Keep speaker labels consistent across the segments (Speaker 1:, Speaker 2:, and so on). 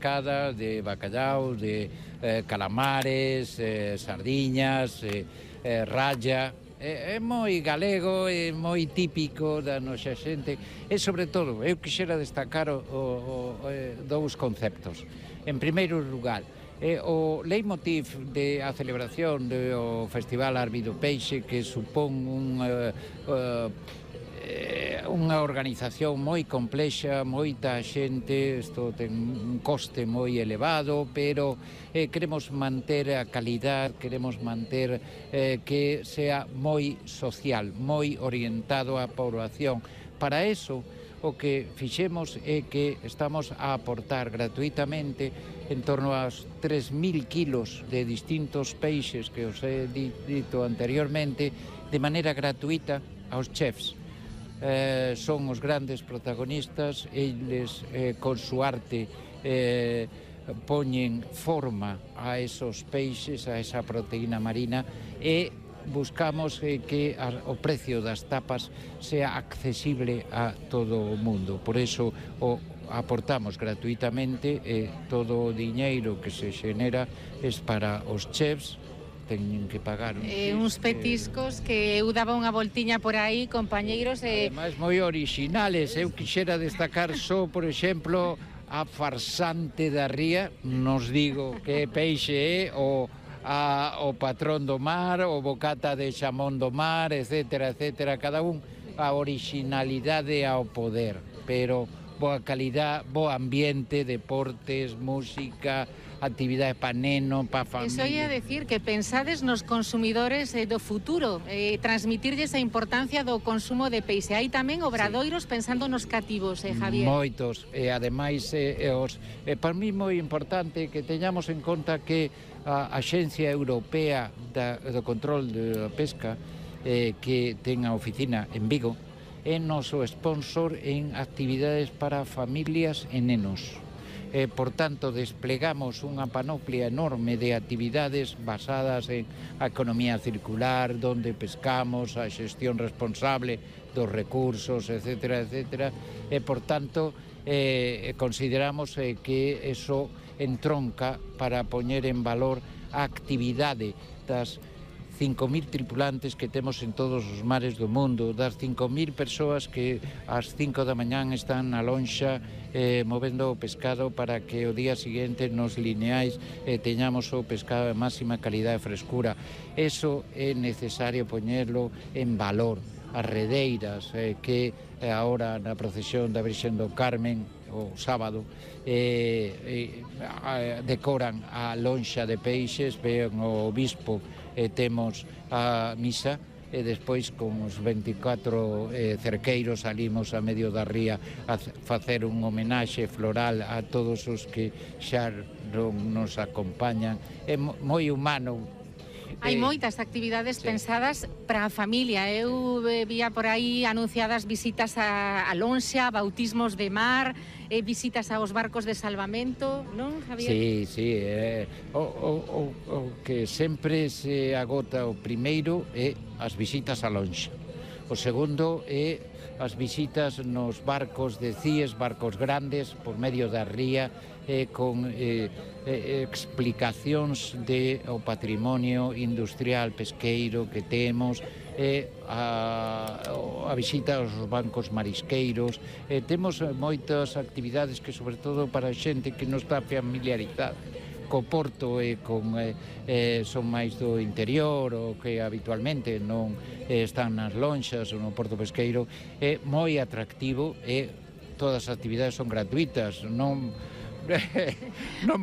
Speaker 1: pescada, de bacallau, de calamares, sardiñas, ralla. É moi galego, é moi típico da nosa xente e, sobre todo, eu quixera destacar dous conceptos. En primeiro lugar, o leitmotiv a celebración do Festival Arbi do Peixe, que supón unha organización moi complexa, moita xente, isto ten un coste moi elevado, pero queremos manter a calidad, queremos manter que sea moi social, moi orientado á poboación. Para eso, o que fixemos é que estamos a aportar gratuitamente en torno aos 3.000 kilos de distintos peixes que os he dito anteriormente, de maneira gratuita aos chefs. Son os grandes protagonistas, eles con su arte poñen forma a esos peixes, a esa proteína marina, e buscamos que o precio das tapas sea accesible a todo o mundo. Por eso o aportamos gratuitamente e todo o diñeiro que se xenera é para os chefs. Teñen que pagar
Speaker 2: uns petiscos que eu daba unha voltiña por aí, compañeiros.
Speaker 1: Ademais, moi orixinales. Eu quixera destacar só, por exemplo, a farsante da ría. Nos digo que peixe é o patrón do mar, o bocata de xamón do mar, etcétera, etcétera. Cada un a orixinalidade ao poder, pero boa calidad, bo ambiente, deportes, música, actividade pa neno, pa familia.
Speaker 2: Eso ia decir que pensades nos consumidores do futuro, transmitirlles a importancia do consumo de peixe. Hai tamén obradoiros pensando nos cativos, Javier?
Speaker 1: Moitos, e ademais para mí moi importante que teñamos en conta que a Axencia Europea do Control da Pesca, que ten a oficina en Vigo, é noso sponsor en actividades para familias e nenos. Por tanto, desplegamos unha panoplia enorme de actividades basadas en a economía circular, donde pescamos, a xestión responsable dos recursos, etcétera, etcétera, e, por tanto, consideramos que eso entronca para poñer en valor a actividade das 5.000 tripulantes que temos en todos os mares do mundo, das 5.000 persoas que ás 5 da mañán están na lonxa movendo o pescado para que o día seguinte nos lineais teñamos o pescado de máxima calidade e frescura. Eso é necesario poñerlo en valor. As redeiras que agora na procesión da Virxen do Carmen o sábado decoran a lonxa de peixes, ven o obispo e temos a misa e despois con os 24 cerqueiros salimos a medio da ría a facer un homenaxe floral a todos os que xa nos acompañan. É moi humano.
Speaker 2: Hai moitas actividades pensadas para a familia. Eu vía por aí anunciadas visitas a lonxa, bautismos de mar, visitas aos barcos de salvamento, non, Javier?
Speaker 1: Sí, o que sempre se agota o primeiro é as visitas a lonxa. O segundo é as visitas nos barcos de CIES, barcos grandes, por medio da ría, con explicacións do patrimonio industrial pesqueiro que temos, a visita aos bancos marisqueiros. Temos moitas actividades que, sobre todo, para a xente que non está familiarizada co porto e son máis do interior ou que habitualmente non están nas lonxas ou no porto pesqueiro, é moi atractivo e todas as actividades son gratuitas, non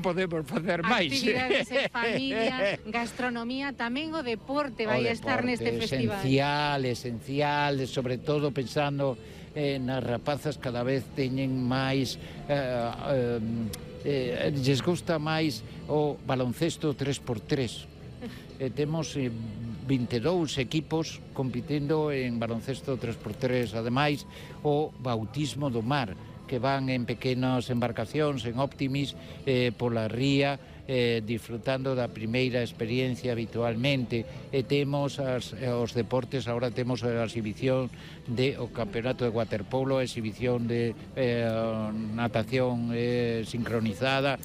Speaker 1: podemos facer máis.
Speaker 2: Actividades en familia, gastronomía, tamén o deporte vai estar neste festival.
Speaker 1: Esencial, sobre todo pensando nas rapazas, cada vez teñen máis lles gusta máis o baloncesto 3x3. Temos 22 equipos compitindo en baloncesto 3x3, ademais o bautismo do mar, que van en pequenas embarcacións, en Optimis, pola ría, disfrutando da primeira experiencia habitualmente. E temos os deportes, agora temos a exhibición do campeonato de waterpolo, a exhibición de natación sincronizada,